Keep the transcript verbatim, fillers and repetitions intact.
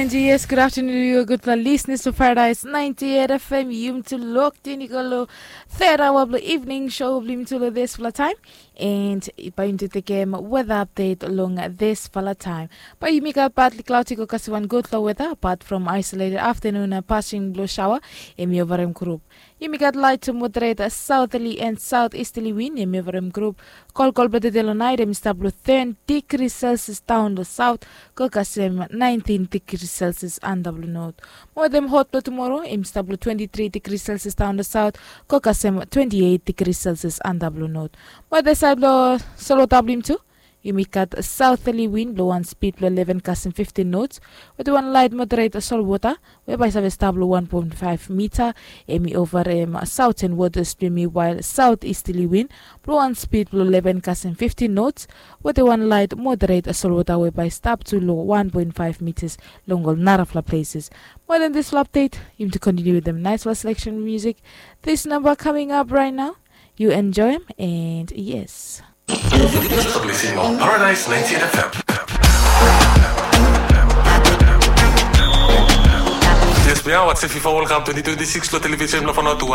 And yes, good afternoon to you, gudfala listeners of Paradise ninety-eight F M. Yumi tu locked in, i go lo third hour of the evening show of yumi tu lo this fala time. And bae yumi tu tekem weather update long this fala time. Bae yumi gat partly cloudy, go kasem wan gudfala weather, apart from isolated afternoon uh, passing blue shower, em i overem group. Yumi gat light to moderate southerly and southeasterly wind, em i overem group. Kolkol blong tede lo nait, em i stap lo ten degree Celsius down lo south, go kasem nineteen degree Celsius antap lo north. Mo wetem hot blong tumoro, em i stap lo twenty-three degree Celsius down lo south, go kasem twenty-eight degree Celsius antap lo north. Mo wetem saed blo solwota blong yumi tu, yumi gat southerly wind blo wan speed blo eleven kasem fifteen knots, wetem wan light moderate solwota, we bae save stap lo one point five mita, em i overem southern waters blo yumi, while southeasterly wind blo wan speed blo eleven kasem fifteen knots, wetem wan light moderate solwota we bae stap tu lo one point five meters long ol narafala places. Mo wetem this update, yumi tu continue wetem nice fala selection music. This number coming up right now, you enjoy em, and yes. Paradise ninety-eight F M. Yes, we are watching FIFA World Cup twenty twenty-six lo television blo Vanuatu.